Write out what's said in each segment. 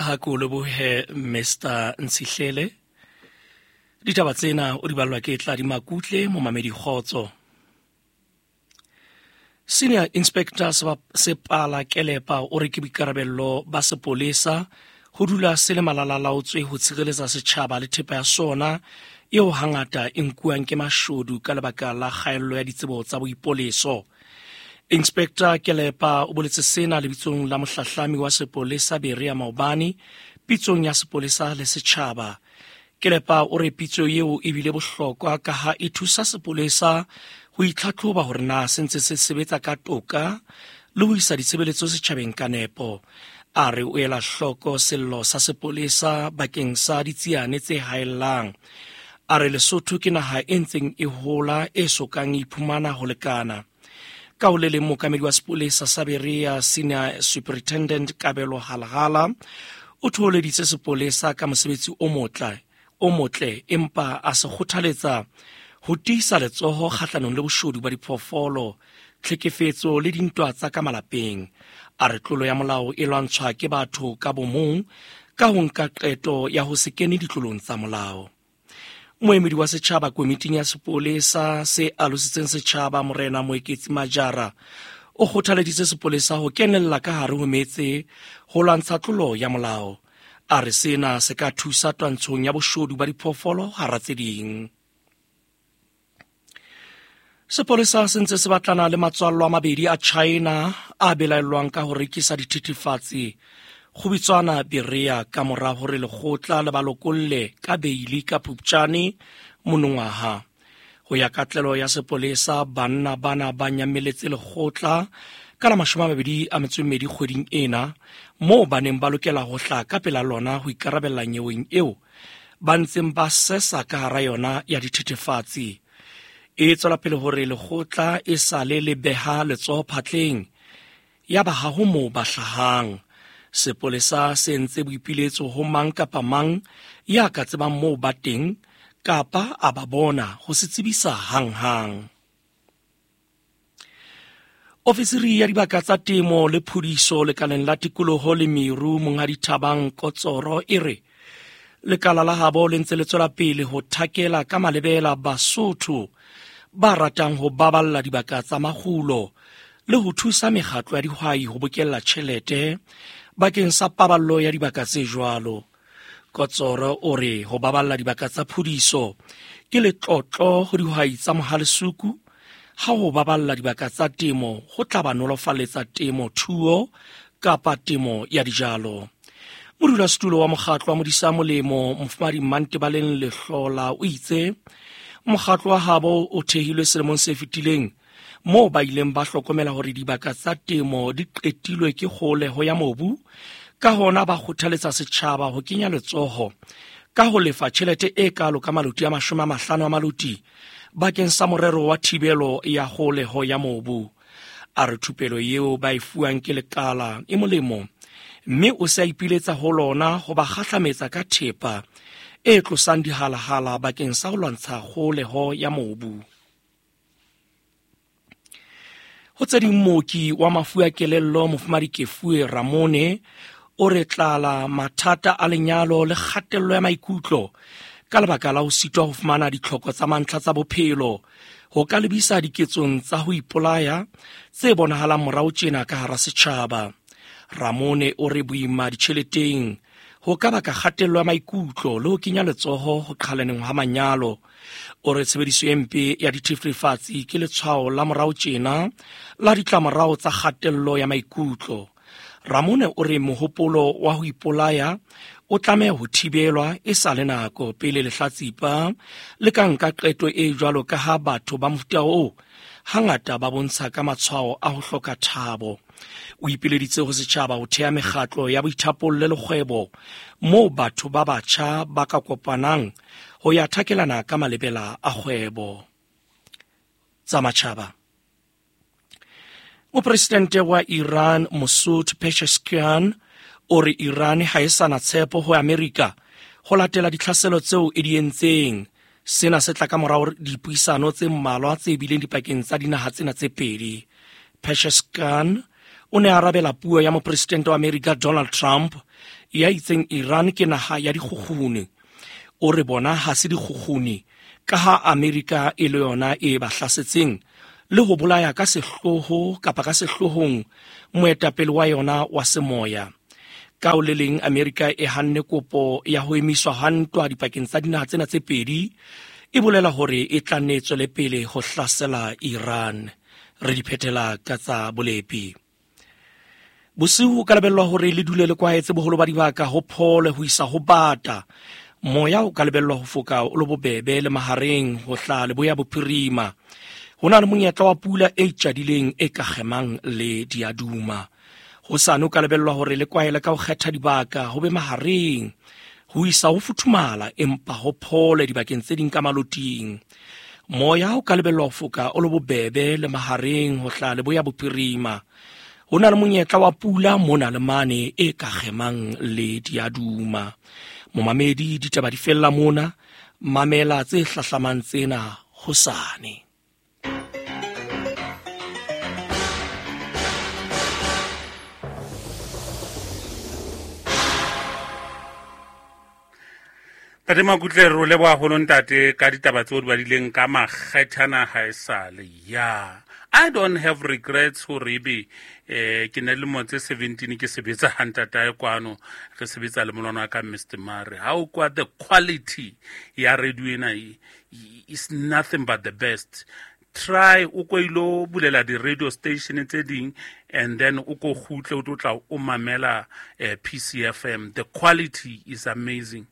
Ha ke o lebohe Mr Ntshihlele. Ditaba tsena o di ballwa ke Tladi Makutle, momamedi kgotso. Senior Inspector Sepala Kelepa o re ke boikarabello ba sepolesa ho dula se le malalalaotswe ho tshireletsa setjhaba le thepa ya sona eo hangata e nkuwang ke mashodu ka lebaka la kgaello ya ditsebo tsa boipoleso. Inspector Kelepa o boletse sena lebitsong la mohlahlami wa sepolesa Berea maobane pitsong ya sepolesa le setjhaba. Kelepa o re pitso eo e bile bohlokwa ka ha e thusa sepolesa ho itlhatlhoba hore na se ntse se sebetsa ka toka le ho isa ditshebeletso setjhabeng ka nepo. A re o ela hloko sello sa sepolesa bakeng sa ditsiane tse haellang. A re Lesotho ke naha e ntseng e hola e sokang e iphumana ho lekana. Ka ho le leng mookamedi wa sepolesa sa Berea Senior Superintendent Kabelo Halhala o thoholeditse sepolesa ka mosebetsi o motle o motle empa a se kgothaletsa ho tiisa letsoho kgahlanong le boshodu ba diphoofolo tlhekefetso le dintwa tsa ka malapeng. A re tlolo ya molao e lwantshwa ke batho ka bomong ka ho nka qeto ya ho se kene ditlolong tsa molao. Moemedi wa setjhaba komiting ya sepolesa se alositseng setjhaba Morena Moeketsi Majara o kgothaleditse sepolesa ho kenella ka hare ho metse ho lwantsha tlolo ya molao. A re sena se ka thusa twantshong ya boshodu ba diphoofolo hara tse ding. Sepolesa se ntse se batlana le matswallo a mabedi a China a belaellwang ka ho rekisa dithethefatsi go bitswana Berea ka mora hore lekgotla le ba lokolle ka beili ka Phupjane monongwaha. Ho ya ka tlelo ya sepolesa, banna bana ba nyameletse lekgotla ka la 22 kgweding ena, moo ba neng ba lokela ho hla ka pela lona ho ikarabella nyeweng eo ba ntseng ba sesa ka hara yona ya dithethefatsi. E tswela pele hore lekgotla e sale le beha letsoho phatleng ya ba ha ho moo ba hlahang. Sepolesa se entse boipiletso ho mang kapa mang ya ka tsebang moo ba teng kapa a ba bona ho se tsebisa hanghang. Ofisiri ya dibaka tsa temo le phudiso lekaleng la tikoloho le meru Monghadi Thabang Kotsoro e re lekala la habo le ntse le tswela pele ho thakela ka malebela Basotho ba ratang ho baballa dibaka tsa makgulo le ho thusa mekgatlo ya dihwai ho bokella tjhelete bakeng sa paballo ya dibaka tse jwalo. Kotsoro o re ho baballa dibaka tsa phudiso ke letlotlo ho dihwai tsa Mohalesuku, ha ho baballa dibaka tsa temo ho tla ba nolofaletsa temo thuo kapa temo ya dijalo. Modulasetulo wa mokgatlo wa Modisa Molemo Mofumahadi Mmantebaleng Lehlola o itse mokgatlo wa habo o thehilwe selemong se fetileng moo ba ileng ba hlokomela hore dibaka tsa temo di qetilwe ke kgoleho ya mobu, ka hona ba kgothaletsa setjhaba ho kenya letsoho ka ho lefa tjhelete e kalo ka maloti a 50 a maloti bakeng sa morero wa thibelo ya kgoleho ya mobu. A re thupelo eo ba e fuwang ke lekala e molemo mme o se a ipiletsa ho lona ho ba kgahlametsa ka thepa e tlosang dihalahala bakeng sa ho lwantsha kgoleho ya mobu. Ho tse ding, mooki wa mafu a kelello Mofumahadi Kefue Ramone o re tlala mathata a lenyalo le kgatello ya maikutlo ka lebaka la ho sitwa ho fumana ditlhoko tsa mantlha tsa bophelo ho ka lebisa diketsong tsa ho ipolaya tse bonahalang morao tjena ka hara setjhaba. Ramone o re boima ditjheleteng ho ka baka kgatello ya maikutlo le ho kenya letsoho ho qhalaneng ha manyalo. O re tshebediso e mpe ya dithethefatsi ke letshwao la morao tjena la ditlamorao tsa kgatello ya maikutlo. Ramone o re mohopolo wa ho ipolaya o tlameha ho thibelwa e sa le nako pele lehlatsipa le ka nka qeto e jwalo ka ha batho ba mofuta oo hangata ba bontsha ka matshwao a ho hloka thabo. O ipileditse ho setjhaba ho thea mekgatlo ya boithapollo le kgwebo moo batho ba batjha ba ka kopanang ho ya thakelana ka malebela a kgwebo. Tsa matjhaba. Mopresidente wa Iran Masoud Pezeshkian o re Iran ha e sa na tshepo ho Amerika ho latela ditlhaselo tseo e di entseng. Sena se tla ka morao dipuisano tse mmalwa tse bileng dipakeng tsa dinaha tsena tse pedi. Pezeshkian O ne a arabela puo ya mopresidente wa Amerika Donald Trump ya itseng Iran ke naha ya dikgukguni. O re bona ha se dikgukguni ka ha Amerika e le yona e ba hlasetseng le ho bolaya ka sehloho kapa ka sehlohong moetapele wa yona wa semoya. Ka o le leng Amerika e hanne kopo ya ho emiswa ha ntwa dipakeng tsa dinaha tsena tse pedi, e bolela hore e tla nne e tswele pele ho hlasela Iran. Re di phethela ka tsa bolepi. Bosiu o ka lebellwa hore le dule le kwaetse boholo ba dibaka ho phole ho isa ho bata. Moya o ka lebellwa ho foka o le bobebe le mahareng ho hlaha leboya bophirima. Ho na le monyetla wa pula e tjadileng e ka kgemang le diaduma. Hosane o ka lebellwa hore le kwaele ka ho kgetha dibaka ho be mahareng ho isa ho futhumala empa ho phole dibakeng tse ding ka maloting. Moya o ka lebellwa ho foka o le bobebe le mahareng ho hlaha leboya bophirima. Ho na le monyetla wa pula mona le mane e ka kgemang le diaduma. Momamedi, ditaba di fella mona, mamela tse hlahlamang tsena hosane. Tate Makutle, re o leboha haholo ntate ka ditaba tseo di badileng ka makgethana ha e sale. Ya, I don't have regrets hore ebe ke ne lemo tse 17 ke sebetsa ha ntatae kwano, re sebetsa le molwana wa ka Mr. Mare. Ha o kwa the quality ya radio ena is nothing but the best. Try o ko ilo bulela di-radio station tse ding and then o ko kgutle o tlo tla o mamela PCFM. The quality is amazing.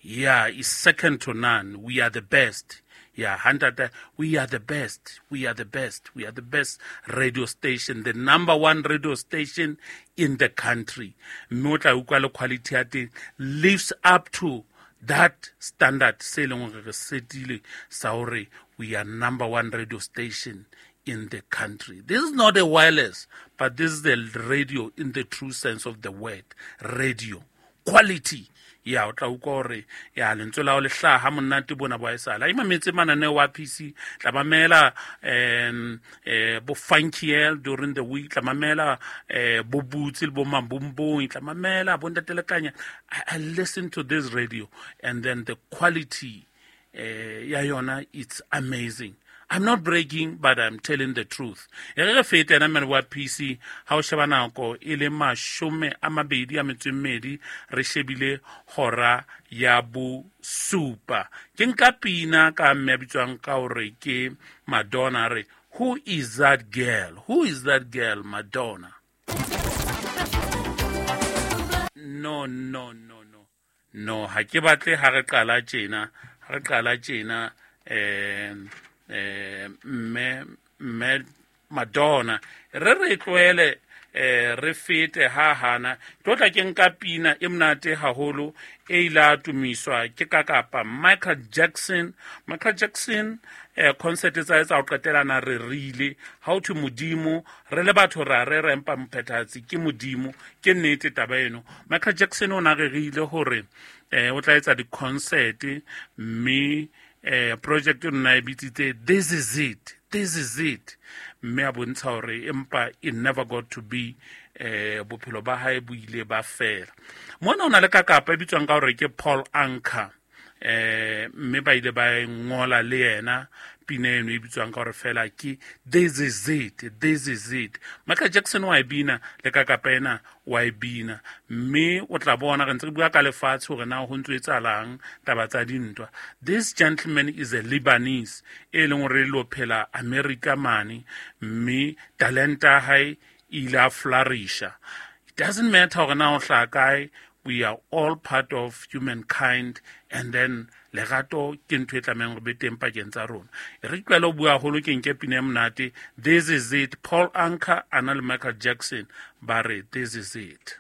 Yeah, it's second to none. We are the best. Yeah, hantata, we are the best. We are the best. We are the best radio station, the number one radio station in the country. Mme o tla utlwa le quality ya teng lives up to that standard se leng hore re setile sa hore we are number one radio station in the country. This is not a wireless, but this is the radio in the true sense of the word. Radio. Quality. Ya, o tla utlwa hore ya lentswe la hao le hlaha ha monate bona bo haesale. Ha e mametse mananeo a PC, tla mamela, bo Funky L during the week, tla mamela, bo Butsi le bo Mambumbung, tla mamela bo Ntate Lekanya. I listen to this radio and then the quality ya yona, it's amazing. I'm not bragging, but I'm telling the truth. E re re fete ena mmele wa PC, ha o sheba nako e le mashome a mabedi a metso e mmedi, re shebile hora ya bosupa. Ke nka pina ka mme a bitswang ka hore ke Madonna, re, who is that girl? Who is that girl, Madonna? No, no, no, no. No, ha ke batle ha re qala tjena, ha re qala tjena, mme Madonna, re re tlohele, re fete ha hana. Tlo tla ke nka pina e monate haholo e ile a tumiswa ke ka kapa Michael Jackson. Michael Jackson, concert tsa hae tsa ho qetela na re rile ha ho thwe Modimo, re le batho ra re re empa mophethahatsi ke Modimo. Ke nnete taba eno. Michael Jackson o na rerile hore, o tla etsa di-concert, mme, project o nna e bitsitse This Is It, This Is It, mme a bontsha hore empa it never got to be, bophelo ba hae bo ile ba fela. Mona o na le kakapa e bitswang ka hore ke Paul Anka, mme ba ile ba e ngola le yena pina eno e bitswang ka hore fela ke This Is It, This Is It. Michael Jackson wa e bina le kakapa ena wa e bina, mme o tla bona re ntse re bua ka lefatshe hore na ho ntso etsahalang taba tsa dintwa. This gentleman is a Lebanese e leng hore lo phela America mane, mme talenta ya hae e ile a flourisha. It doesn't matter hore na o hlaha kae, we are all part of humankind, and then lerato ke ntho e tlamehang hore be teng pakeng tsa rona. E re tlohele ho bua haholo, ke nke pina e monate. This Is It, Paul Anka a na le Michael Jackson ba re This Is It.